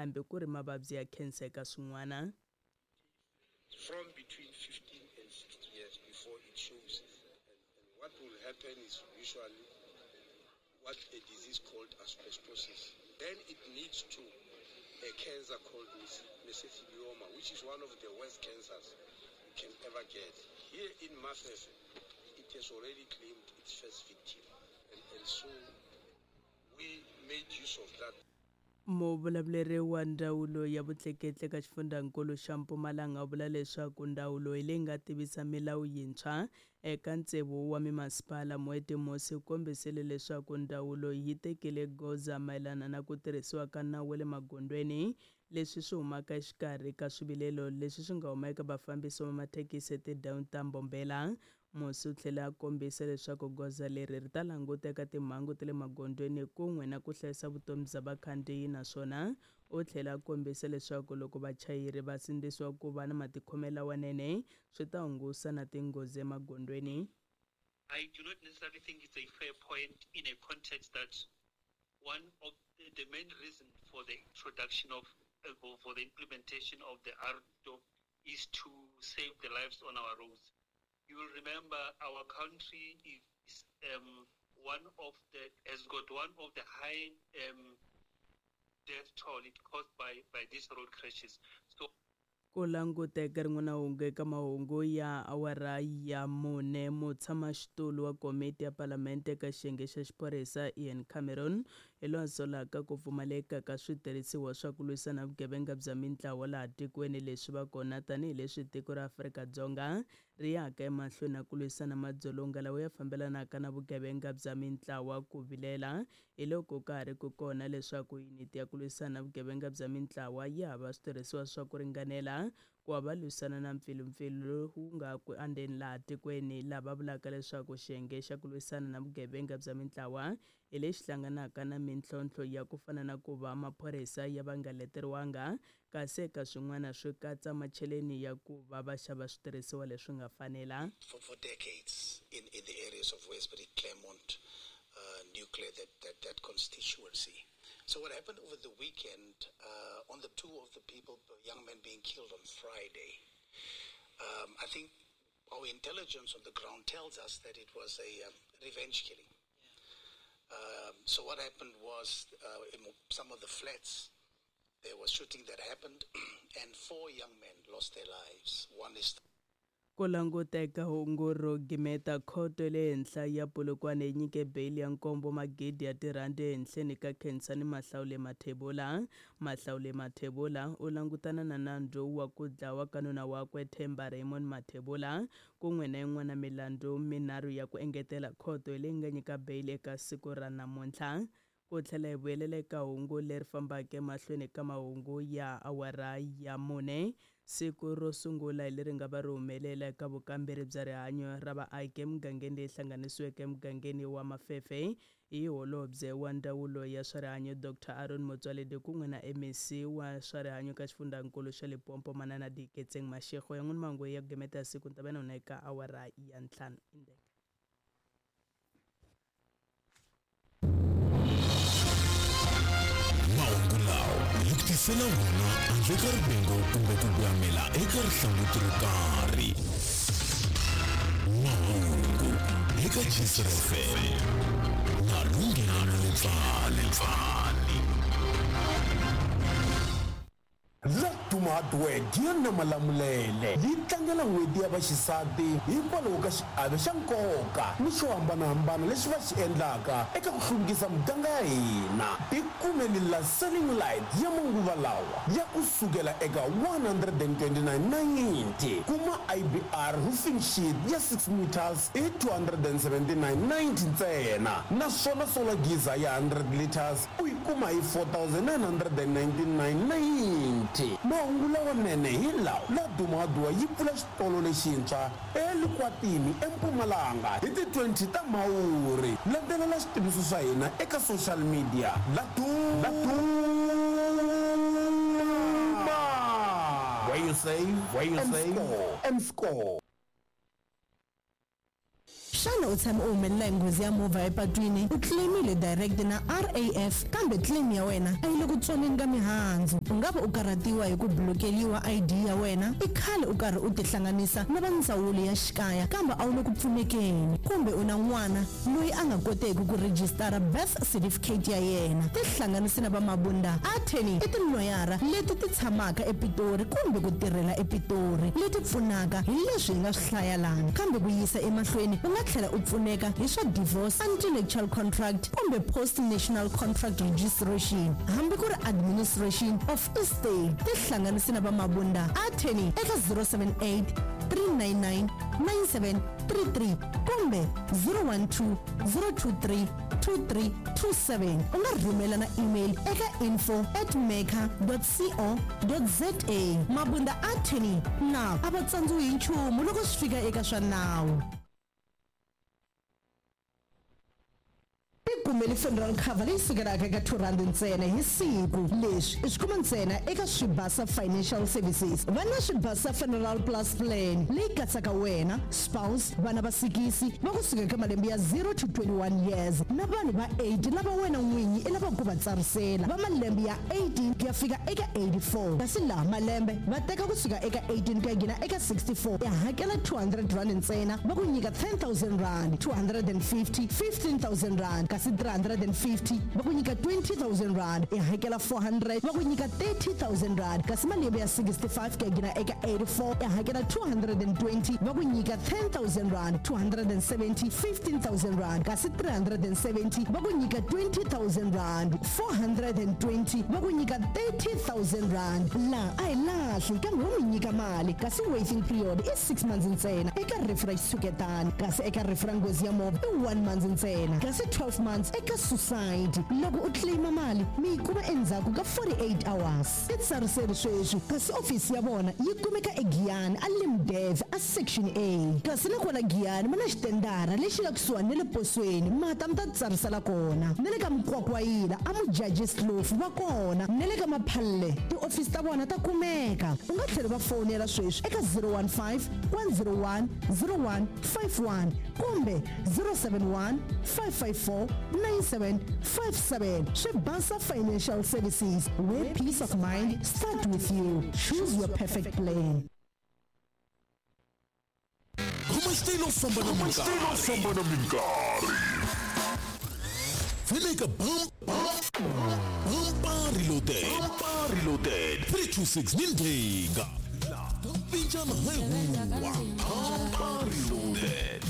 hambi ku ri mavabyi ya khensa eka swin'wana. From between 15 and 60 years before it shows. And, and what will happen is usually what a disease called asbestosis. Then it leads to a cancer called mesothelioma, which is one of the worst cancers you can ever get. Here in Mafefe, it has already claimed its first victim. And, and so we made use of that. Muvulavuleri wa Ndzawulo ya Vutleketli eka xifundzankulu xa Mpumalanga u vula leswaku ndzawulo hi leyi nga tivisa milawu yintshwa eka tsevu wa mimasipala. Moeti Mosi u kombisile leswaku ndzawulo yi tekile goza mayelana na ku tirhisiwa ka nawu wa le magondzweni, leswi swi humaka exikarhi ka swivilelo leswi swi nga huma eka vafambisi va mathekisi etindhawini ta Mbombela. Musi u tlhele a kombisa leswaku goza leri ri ta languta eka timhangu ta le magondzweni kun'we na ku hlayisa vutomi bya vakhandziyi naswona u tlhele a kombisa leswaku loko vachayeri va sindzisiwa ku va na matikhomelo lawanene swi ta hungusa na tinghozi emagondzweni. I do not necessarily think it's a fair point in a context that one of the main reason for the introduction of for the implementation of the ARTO is to save the lives on our roads. You will remember our country is one of the has got one of the high death toll it caused by by these road crashes. So Ku languteka rin'wana hungu eka mahungu ya awara ya mune, mutshamaxitulu wa komiti ya palamente eka xiyenge xa xiphorisa Ian Cameron hi loyi a solaka ku pfumaleka ka switirhisiwa swa ku lwisana vugevenga bya mintlawa laha tikweni leswi va kona tanihileswi tiko ra Afrika-Dzonga ri yaka emahlweni na ku lwisana madzolonga lawa ya fambelanaka na vugevenga bya mintlawa. Ku vilela hi loko ka ha ri ku kona leswaku yuniti ya ku lwisana na vugevenga bya mintlawa yi hava switirhisiwa swa ku ringanela ku va va lwisana na mpfilumpfilu lowu nga ku andzeni laha tikweni, laha va vulaka leswaku xiyenge xa ku lwisana na vugevenga bya mintlawa hi lexi hlanganaka na mintlhontlho ya ku fana na ku va maphorisa ya va nga leteriwanga kasi eka swin'wana swi katsa macheleni ya ku va va xava switirhisiwa leswi nga fanela. For, for decades in, in the areas of Westbury, Claremont, Newclare, that, that, that constituency. So what happened over the weekend, on the two of the people, young men being killed on Friday, I think our intelligence on the ground tells us that it was a revenge killing. So what happened was in some of the flats, there was shooting that happened, and four young men lost their lives. One is Ku languteka hungu ro gimeta, Khoto ya le Henhla ya Polokwane yi nyike beyili ya nkombo magidi ya tirhandi ehenhleni ka Khensani Mahlawule Mathebula. Mahlawule Mathebula u langutana na nandzu wa ku dlawa ka nuna wakwe Themba Raymond Mathebula kun'we na yin'wana milandzu minharhu ya ku engetela. Khoto hi leyi nga nyika beyili eka siku ra namuntlha. Ku tlhela hi vuyelela eka hungu leri fambaka emahlweni ka mahungu ya awara ya mune, siku ro sungula hi leri nga va ri humelela eka vukamberi bya rihanyo ra vaaki emugangeni leyi hlanganisiweke emugangeni wa Mafefe hi Holobye wa Ndzawulo ya swa Rihanyo Doctor Aaron Motsoaledi kun'we na MEC wa swa Rihanyo eka xifundzankulu xa Limpopo Manana Dieketseng Mashego. Yan'wini mahungu ya ku gimeta ya siku ni ta va na wona eka awara ya ntlhanu. Indeka. Mahungu lawa hi ku tisela wona handle ka rivengo kumbe ku voyamela eka rihlanguti ro karhi. Mahungu eka Gcr FM na Lunghelo Letsale. Laduma Hardware Gianna Malamulele yi tlangela N'hweti ya Vaxisati hikwalaho ka xiave xa nkoka ni xo hambana-hambana lexi va xi endlaka eka ku hluvukisa miganga ya hina. Tikumeni la Selling Light ya manguva lawa ya ku sukela eka R129.90. Kuma IBR Roofing Sheet ya 6 meters hi R279.90 ntsena naswona solar geyser ya 100 litres U yi kuma hi 4999.90. Mahungu lawanene hi lawa, Laduma-Dua yi pfula xitolo lexintshwa eLikwatini eMpumalanga hi ti 20 ta Mhawuri. Landzelela switiviso swa hina eka social media, Laduma! Where you save, where you and save, score, and score. Xana Xana u tshame u humelela hi nghozi ya movha epatwini u claimile direct na RAF kambe claim ya wena a yi le ku tswaleni ka mihandzu? U nga va u karhatiwa hi ku blokeliwa ID ya wena, i khale u karhi u tihlanganisa na va ndzawulo ya xikaya kambe a wu le ku pfunekeni, kumbe u na n'wana loyi a nga koteki ku rejistara birth certificate ya yena. Tihlanganisi na va Mabunda Attorney i tiloyara leti ti tshamaka ePitori kumbe ku tirhela ePitori leti pfunaka hi leswi hi nga swi hlaya lana. Kambe ku yisa emahlweni u nga tlhela u pfuneka hi swa divorce, antenuptial contract kumbe post national contract registration hambi ku ri administration of estate. Tihlanganisi na va Mabunda Attorney eka 078 399 9733 kumbe 012 023 2327. U nga rhumela na email eka info at maker co za. Mabunda Attorney na a va tsandziwi hi nchumu loko swi fika eka swa nawu. Tikumeli funeral cover leyi sukelaka eka R2 ntsena hi siku. Leswi i swi kuma ntsena eka Swibasa Financial Services. Va na Swibasa Funeral Plus Plan leyi katsaka wena, spouse, vana va sikisi va kusuka eka malembe ya 0 to 21 years na vanhu va 80 lava wena n'winyi i lavaka ku va tsarisela va malembe ya 18 ku ya fika eka 84. Kasi laha malembe va teka kusuka eka 18 ku ya nghena eka 64, i hakela R200 ntsena va ku nyika R10 000, 250 R15 000, kasi 350 va ku nyika R20 000, i hakela 400 va ku nyika R30 000, kasi malembe ya 65 ku ya nghena eka 84 i hakela 220 va ku nyika R10 000, 270 R15 000, kasi 370 va ku nyika R20 000, 420 va ku nyika R30 000. Laha a hi lahli kambe wo mi nyika mali, kasi waiting period i 6 months ntsena eka rifu ra xitshuketani, kasi eka rifu ra nghozi ya movha i 1 month ntsena, kasi 12 months eka suicide. Loko u claima mali mi yi kuma endzhaku ka 48 hours. Titsariseli sweswi, kasi ofisi ya vona yi kumeka eGiyani a Limdev a Section A, kasi na kwala Giyani ma na xitendara lexi nga kusuhani na le posweni, mata mi ta titsarisela kona. Na le ka Mukwakwayila a Mujajis Kloof va kona, na le ka Maphalle tiofisi ta vona ta kumeka. U nga tlhela va fonela sweswi eka 015 101 0151 kumbe 071 554 9757. Swibasa Financial Services, where peace of mind start with you. Choose your perfect plan. Khoma xitayili u famba na minkarhi. Na minkarhi. Pfuna Bumper Reloaded. Bumper Reloaded. 326 ni ndhinga. Pinjana hi huwa. Bumper Reloaded.